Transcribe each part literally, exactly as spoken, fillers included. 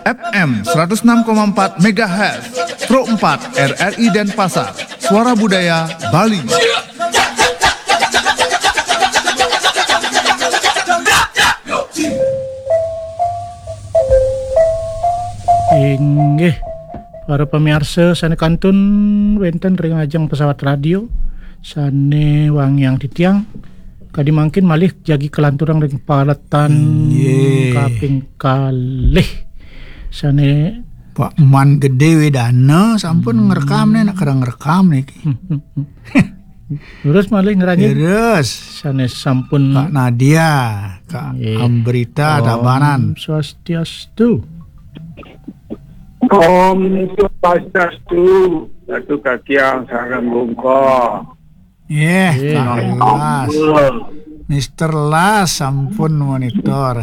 F M seratus enam koma empat megahertz, Pro empat R R I Denpasar, Suara Budaya Bali. Inggih, para pamiarsa sané kantun wénten ring ajeng pesawat radio sané wangiang titiang, kadi mangkin malih jagi kalanturang ring paletan Inggih. Kaping kalih. Sané Pak Man Gedé Wedana sampun Hmm. ngrekam nih, nak kereng ngrekam niki. Terus malih ngranjing Terus sané sampun Kak Nadia, Kak Nggih. Ambrita Om Tabanan. Swastiastu. Om Swastiastu. Ratu Katiang sareng Bungka. Yeh, Yeh. Kak Las. Mister Las sampun monitor.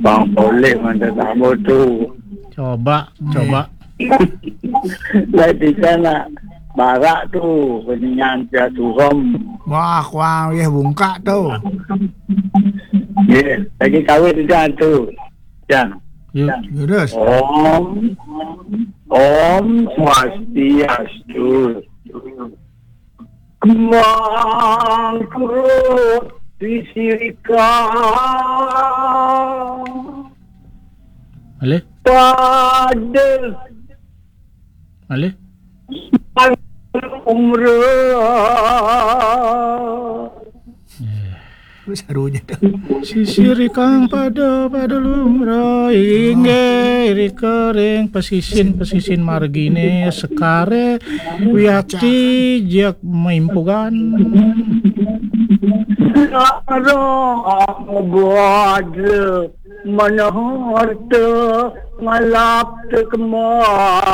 Bang Polih mantan tamu tu. Coba, Yeh. coba. Lah di sana barak tu peningan dia turun. Wah, kuang yeh bungkak tu. Yeh, lagi kawin tu jangan tu. Jangan. Yuk. Terus. Om Om Swastiastu. Kemangku disirika. Malih. Pada Malih. Umrah. Terus harunya dah. Sisir ikang pada, pada lumrah, inggih rika ring pasisin, pasisin margine sekare wiakti jak maimpugan. Lara bada manah harta ngalap tekemah.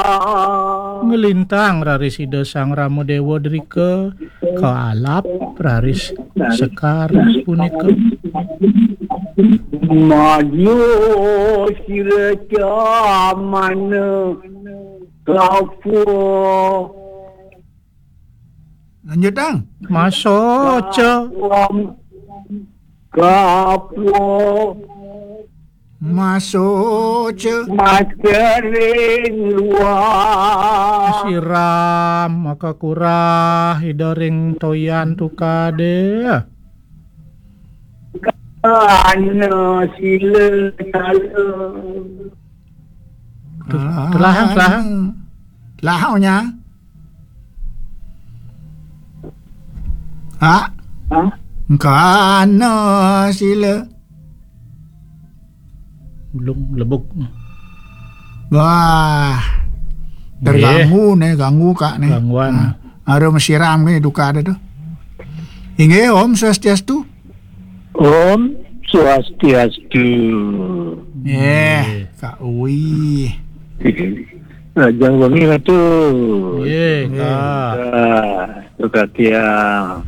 Ngelintang raris Ida Sang Rama Dewa drika kaalap raris sekar punika. Madya sira camana kapuh. Lanjutang. Masoca. Kapuh. Masoca. Macaring luar. Siram maka kurah Ida ring toyan tukade. Kana sila sala. Telahang, telahang. Telahangnya. Ha? Ha? Kana sila. Belum lebuk. Wah. Terganggu nih, ganggu Kak nih. Gangguan. Nah, ada mesiram nih duka ada tuh. Inggih, Om Swastiastu. Om Swastiastu. Eh, Kak Uwi. Raja Wangi Ratu. Ye, Kak. Kak, Kak Tiang.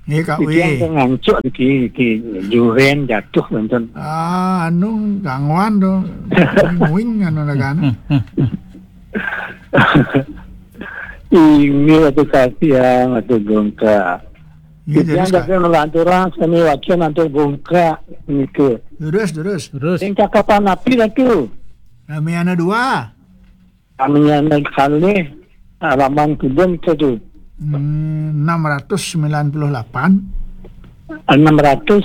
Ye, Kak Tiang Uwi. Kan ngancuk niki, niki juren jatuh, wonten. Ah, anu gangguan tuh. Wing anu dagan. Ini waktu Kak Tiang, waktu Gongka. Iya, Tiang terus, Kak. Jaga ngelanturang, sami wacan antuk Gongka, niki. Terus, terus. Terus. Sing cakapan api lah tuh. Kami anak dua. Aminyana kalih, halaman kidung itu tu. Hmm, enam ratus sembilan puluh lapan. Enam ratus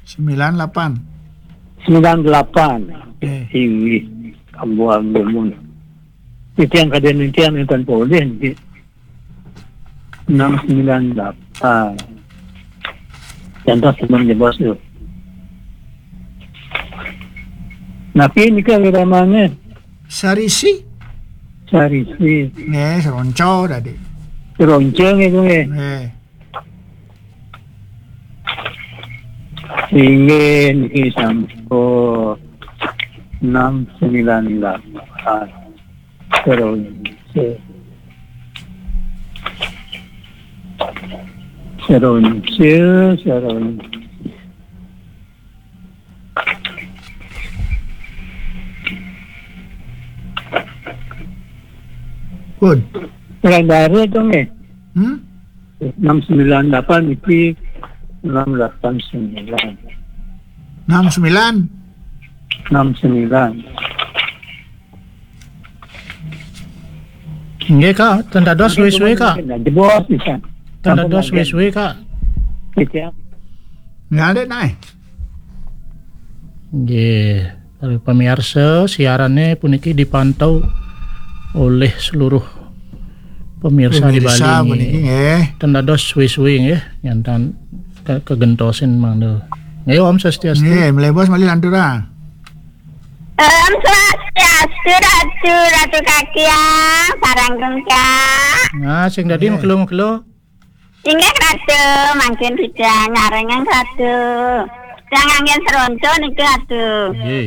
sembilan lapan. Sembilan lapan. Eh. Inggih, ambuang dumun. Itu yang kada nantian yang tanpa oleh nanti. Enam sembilan lapan. Contoh sebelum jebos tu. Napi nika wiramane? Sarisi. Sarisi. Nggih, seronco tadi. Seronco nggih, nggih. Nggih. Inggih niki sampun enam sembilan lapan. Seronco. Seronco, seronco. Pun. Orang baru tu ni. Hmm? Enam sembilan lapan niki enam lapan sembilan. Enam sembilan? Enam sembilan. Nggih, Kak, ten dados suwe-suwe, Kak. Jebos bisa. Ten dados suwe-suwe, Kak. Gitu ya. Nggih, Dik, naik. Nggih, para pemirsa, siarannya puniki dipantau oleh seluruh pemirsa, di Bali. Pemirsa Nggih. Puniki nggih. Ten dados suwe-suwe nggih, nyantan ke kegentosin mangda. Nggih, Om Swastiastu. Nggih, mlebos malih lanturang. Om Swastiastu, Ratu, Ratu Kakiang, sareng Kak. Nah, sing dadi mekelo-mekelo. Inggih, Ratu, mangkin kita ngarengeng, Ratu. Yang angin seronco niki, Ratu. Nggih.